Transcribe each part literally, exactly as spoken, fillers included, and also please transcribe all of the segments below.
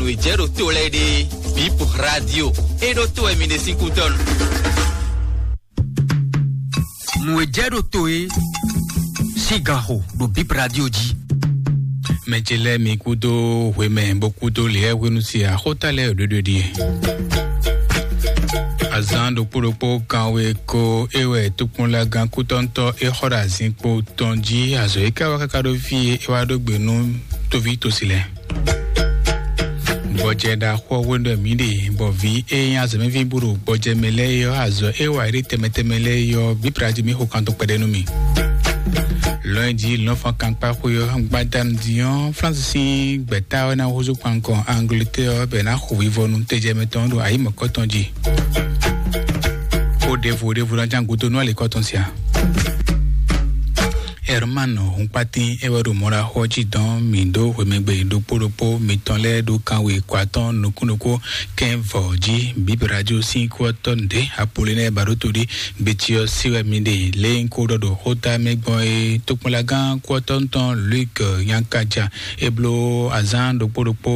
Nǔ e jɛ ɖo to lɛ́ɛ ɖe, Bip Radio, é ɖó to wɛ mi ɖe sín kútɔ́nu. Nǔ e jɛ ɖo to é sín ganxo ɖo Bip Radio jí. Mɛ ce lɛ́ɛ mi kúdó hwemɛ bó kúdó lěɛ́ hwenu se axóta lɛ́ɛ ɖoɖo ɖie. Azǎn ɖokpó ɖokpó kanwe ko é wɛ tokpɔnlagán kútɔ́ntɔ́ é xɔ ɖo azinkpo tɔn jí. Azɔ̌ é ká wá káká ɖó fí e é wá ɖó gbe nú tóví tosi lɛ́ɛ. Gbɔjɛ ɖaxó ɔ́ hwenu ɖɔ mǐ ɖe, bɔ vǐ e nyí azɔ̌mɛví bó ɖo gbɔjɛ mɛ lɛ́ɛ é ɔ́, azɔ̌ e wa yě ɖe tɛnmɛ tɛnmɛ lɛ́ɛ é ɔ́, Bíblá jí mì xo kan tɔn kpɛɖé nú mì. Lɔ̌nyijǐ lɔ̌nfɔ́n kankpáxwé ɔ́, gbadanu din ɔ́, Flánsi sín gbɛ̌ta ɔ́ ná húzú kpankɔ Angleterre ɔ́, bɔ è nǎ xo vivɔnu tejɛmɛ tɔn ɖo ayǐ mɔ̌kɔtɔn jí. Xó ɖěvo ɖěvo ná ján gúdo nú alǐkɔ tɔn sia. Herman Hunkpatín é wɛ ɖo mɔɖaxó ɔ́ jí dɔn mǐ ɖó hwemɛgbe ɖokpó ɖokpó mitɔn lɛ́ɛ ɖó kanwe ko atɔ́ɔ́n nukúnnukún kɛ́n vɔ̌ jí. Bíblá jí sín kú ɔ́ tɔ́ nǔɖé Apolinɛ́ɛ Baɖótodí gbeti ɔ́ sí wɛ mi ɖe lě e un ko ɖɔ ɖo xóta mɛ gbɔn é. Tokpɔnlagán kú ɔ́ tɔ́ tɔn Luke Nyankaja é bló azǎn ɖokpó ɖokpó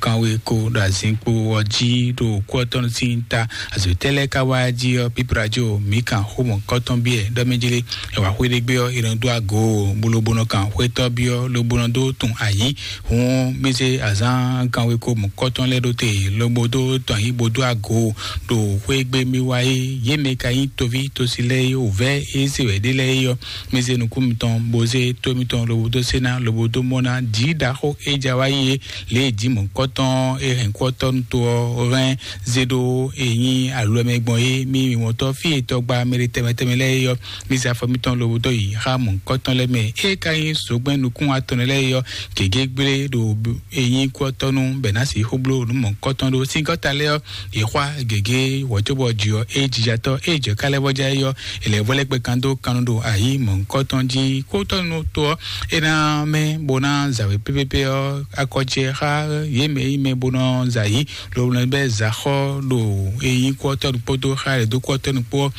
kanwe ko ɖo azinkpo ɔ́ jí ɖo kú ɔ́ tɔ́ sín ta. Azɔ̌ tɛ́ lɛ́ɛ ka wá jí ɔ́, Bíblá jí o, mǐ kan xó mɔ̌kɔtɔn byɔ́ ɖɔ mɛ jí lé. È wǎ xwé ɖé gbé ɔ́, è nɔ dó agǒ, bó ló bó nɔ kan xwétɔ́ byɔ́, ló bó nɔ dó tun ayǐ. Hǔn mì zé azǎn kanwekó mɔ̌kɔtɔn lɛ́ɛ ɖó te, lobo dó tɔn ayǐ bó dó agǒ ɖo xwé gbe mì wá é. Yě mɛ ka nyí toví tosi lɛ́ɛ é, wǔvɛ́ é se wɛ ɖé lɛ́ɛ é ɔ́, mì zé nukún mitɔn, bó zé tó mitɔn, lobo dó sé ná, lobo dó mɔ ná. Jǐ ɖaxó é ja wá yí é, lě e jǐ mɔ̌kɔtɔn é hɛn kú ɔ́ tɔ́ nú to ɔ́ hɛn zé ɖó e nyí alɔmɛ gbɔn é, mì mɔtɔ́ fí e tɔgba mɛ ɖé tɛnmɛ tɛnmɛ lɛ́ɛ é ɔ́, mì zé afɔ mitɔn lobo dó yi xá mɔ̌hunkɔtɔn lɛ́ɛ mɛ. É ka nyí zogbɛ́n nukún atɔn lɛ́ɛ é ɔ́, gěgé gblé ɖo e nyí kú ɔ́ tɔ́ nú bɛ̌ ná sixú bló nǔ mɔ̌hunkɔtɔn ɖó. Sín gɔ́ta lɛ́ɛ ɔ́, yě xwá gěgé wɔ̌ cóbɔ jǐ ɔ́, é jija tɔ́, é jɛ ká lɛ́ vɔ́ já é ɔ́, è lɛ̌ vɔ́ lɛ́ kpɛ kan dó kannú ɖo ayǐ mɔ̌hunkɔtɔn jí. Kú tɔ́ nú to ɔ́, é ná mɛ bó ná zawě pépépé ɔ́, akɔ ce xá yě mɛ e nyí mɛ bó nɔ za yǐ. Lobɔ bɛ́ zǎxɔ ɖo e nyí kú ɔ́ tɔ́ ɖokpó dó xá yě dó kú ɔ́ tɔ́ ɖokpó ɔ́,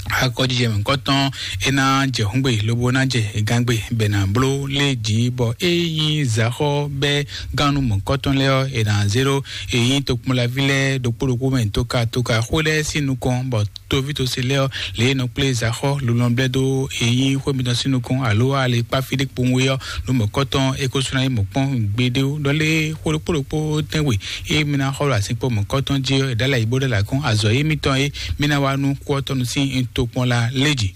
akɔjijɛ mɔ̌kɔtɔn é ná jɛ hǔngbe lobo ná jɛ gangbe bɛ ná bló lé jǐ, bɔ é nyí zǎxɔ bɛ́ gannú mɔ̌kɔtɔn lɛ́ɛ ɔ́, è nǎ zé ɖó e nyí tokpɔnlaví lɛ́ɛ ɖokpó ɖokpó mɛ tóka tóka xó lɛ́ɛ sín nukɔn, bɔ toví tose lɛ́ɛ ɔ́, lě e nɔ kplé zǎxɔ lolɔn blɛ́ dó e nyí xwé mitɔn sín nukɔn, alo alekpáfí ɖé kpowun é ɔ́, nú mɔ̌kɔtɔn é ko sú ná nyí mɔ̌kpɔ́n gbeɖé ó. Ɖɔ lé xó ɖokpó ɖokpó tɛ́nwe e mi ná xɔ ɖo azinkpo mɔ̌kɔtɔn jí ɔ́, è ɖó alɛ yǐ bó ɖó alɛ akɔ́n, azɔ̌ e mitɔn e mi ná wá nú kú ɔ́ tɔn nú sín tokpɔn la lé jǐ.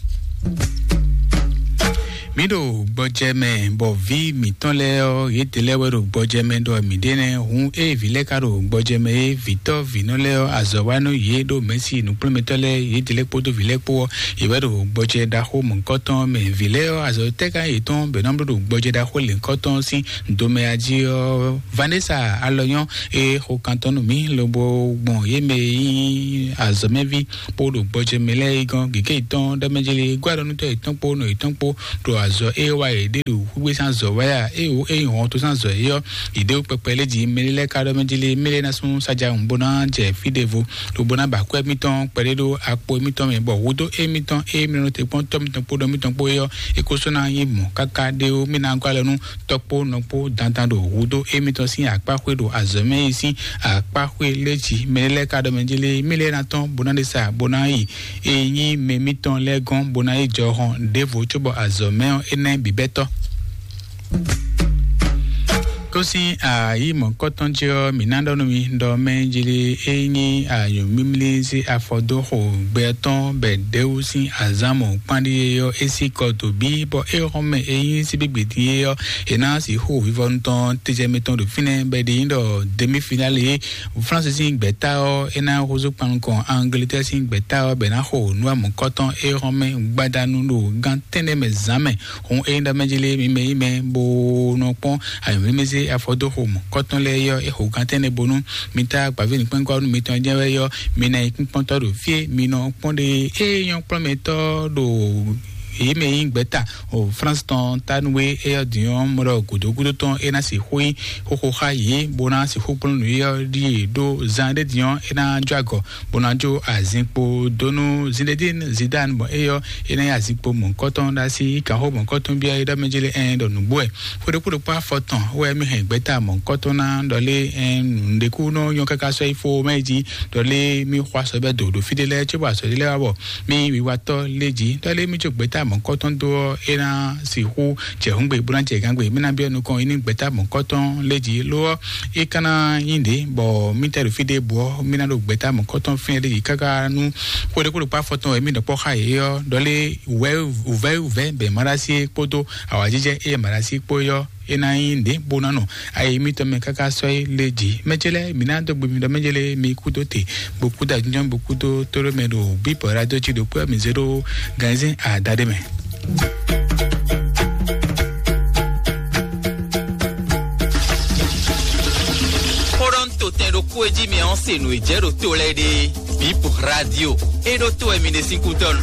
Mǐ ɖo gbɔjɛ mɛ, bɔ vǐ mǐtɔn lɛ́ɛ ɔ́, yědɛɛ lɛ́ɛ wɛ ɖo gbɔjɛ mɛ ɖɔ mǐ ɖe nɛ́. Hǔn ée vǐ lɛ́ɛ ka ɖo gbɔjɛ mɛ é, vǐtɔ́ vǐnɔ lɛ́ɛ ɔ́, azɔ̌ wá nú yě ɖo mɛ̌si nǔkplɔ́nmɛtɔ́ lɛ́ɛ, yědɛɛ lɛ́ɛ kpódó vǐ lɛ́ɛ kpó ɔ́, yě wɛ ɖo gbɔjɛ ɖaxó mɔ̌hunkɔtɔn mɛ. Vǐ lɛ́ɛ ɔ́, azɔ̌ tɛ́ ka nyí yětɔn bɔ è nɔ bló ɖo gbɔjɛ ɖaxó lěhunkɔtɔn sín domɛ a jí ɔ́? Vanessa Alɔnyɔ́ e xo kan tɔn nú mǐ lobo gbɔn yě mɛ e nyí azɔ̌mɛví kpó ɖo gbɔjɛ mɛ lɛ́ɛ é gɔ́n gěgé yětɔn ɖɔ mɛ jlé gbá ɖɔ nú tɔ́ yětɔn kpó nɔ yětɔn kpó ɖo azɔ̌ e wa yě ɖe ɖo xwígbé sín azɔ̌ wá ya, ée wǒ é nyí hɔn to sín azɔ̌ é ɔ́, yě ɖe kpɛkpɛ lé jí mɛ lɛ́ɛ ka ɖɔ mɛ jlé mɛ lɛ́ɛ ná sú sájà bó ná jɛ fí ɖěvo, lobo ná ba akwɛ́ mitɔn kpɛɖé ɖó akpo mitɔn mɛ, bɔ hudó émitɔn e mi nɔ te kpɔ́n tɔ́ mitɔn kpódó mitɔn kpó é ɔ́, é ko sɔ́ ná nyí mɔ̌ káká ɖé ó. Mì ná gɔ́ alɔ nú tɔ́ kpó nɔ kpó dandan ɖo hudó émitɔn sín akpáxwé ɖo azɔ̌ mɛ yi sín akpáxwé lé jí. Mɛ lɛ́ɛ ka ɖɔ mɛ jí lé, mì lɛ́ɛ ná tɔ́n bó ná ɖe sa bó ná yi e nyí mɛ mitɔn lɛ́ɛ gɔ́n bó ná yi jɔhɔn ɖěvo cóbɔ azɔ̌ mɛ ɔ́ é ná nyí bǐbɛ́tɔ́. Kó sín ayǐ mɔ̌kɔtɔn ce ɔ́, mǐ ná ɖɔ nú mi ɖɔ mɛ jlé é nyí anyǔmímlí sín afɔ dó xo gbɛ tɔn bɛ ɖěwú sín azǎn mɔ̌kpánɖíyé ɔ́, é sí kɔ dǒ bí, bɔ é xɔ́n mɛ é nyí síbígbè dín é ɔ́, è nǎ sixú xo vivɔnu tɔn tejɛ mitɔn ɖo fínɛ́, bɔ è ɖe nyí ɖɔ demi-finale Flánsi sín gbɛ̌ta ɔ́, é ná húzú kpan nukɔn Angleterre sín gbɛ̌ta ɔ́, bɔ è nǎ xo nǔ e mɔ̌kɔtɔn é xɔ́n mɛ gbadanu ɖo gán tɛ́nnɛ mɛ zǎn mɛ. Hǔn ényí ɖɔ mɛ jí lé mi mɛ yí mɛ bó nɔ kpɔ́n ayǐmlímlí sín afɔdóxo mɔ̌kɔtɔn lɛ́ɛ é ɔ́, é xo gán tɛ́nnɛ bónú mi tá gbǎví nǔkpɛ́nkpɔ́nú mitɔn jɛ́n wɛ é ɔ́, mi ná nyí kpínkpɔ́ntɔ́ ɖo fí e mi nɔ kpɔ́n ɖe é nyɔ́ kplɔ́nmɛtɔ́ ɖo èyí mɛ nyí gbɛ̌ta o France tɔn tanúwe éyɔ́ dǐn ɔ́ mɔ ɖɔ gǔdo gúdo tɔn é ná sixú nyí xóxó xá yě bó ná sixú kplɔ́n nǔ éyɔ́ ɖíe ɖó zan ɖé dǐn ɔ́ é ná jó agɔ bó ná jó azinkpo dó nú Zinedine Zidane bɔ éyɔ́ é ná nyí azinkpo mɔ̌hunkɔtɔn ɖo así kanxó mɔ̌hunkɔtɔn bíá é ɖɔ mɛ jélé ɛn ɖɔ nǔgbó wɛ. Xwéɖokpóɖokpó afɔtɔn wɛ mí hɛn gbɛ́ta mɔ̌hunkɔtɔn ná ɖɔ lé ɛn nǔɖékú nɔ nyɔ́ káká sɔ́ yi fó mɛ jí ɖɔ lé mí xɔ asɔ bɛ́ do ɖo fí ɖé lɛ́ɛ cóbɔ asɔ ɖé lɛ́ɛ wá bɔ mí wiwatɔ́ lé jí ɖɔ lé mí jó gbɛ́ta mɔ̌hunkɔtɔn dó ɔ́ é ná sixú jɛ hǔngbe bó ná jɛ gǎngbe mí ná byɔ́ nukɔn é ní gbɛ́ta mɔ̌hunkɔtɔn lé jí ló ɔ́ é ka ná nyí ɖě bɔ mí tɛ ɖo fí ɖé bǔ ɔ́ mí ná ɖo gbɛ́ta mɔ̌hunkɔtɔn fínɛ́ lé jí káká nú xwéɖokpóɖokpó afɔtɔn wɛ mí nɔ kpɔ́ xá yě ɔ́ ɖɔ lé wǔvɛ́ wǔvɛ́ wǔvɛ́ bɛ maɖasi kpódó awǎjijɛ eye maɖasi kpó yɔ é ná nyí ɖě bó ná nɔ ayi mitɔn mɛ káká sɔ́ é lé jí mɛjélɛ mǐ ná dó gbe mi ɖɔ mɛjélɛ mi kúdó te bó kúdó ajínjɔ́n bó kúdó tóɖó mɛ ɖo bíbɔ radio jí ɖo kpé mi zé ɖó gánzín àdáɖé mɛ. Xó ɖɔ ń to tɛn ɖokpó e jí mi ɔ́ se nǔ e jɛ ɖo to lɛ́ɛ ɖe. Bip radio. E ɖo to wɛ mi ɖe sín kútɔ́ nu.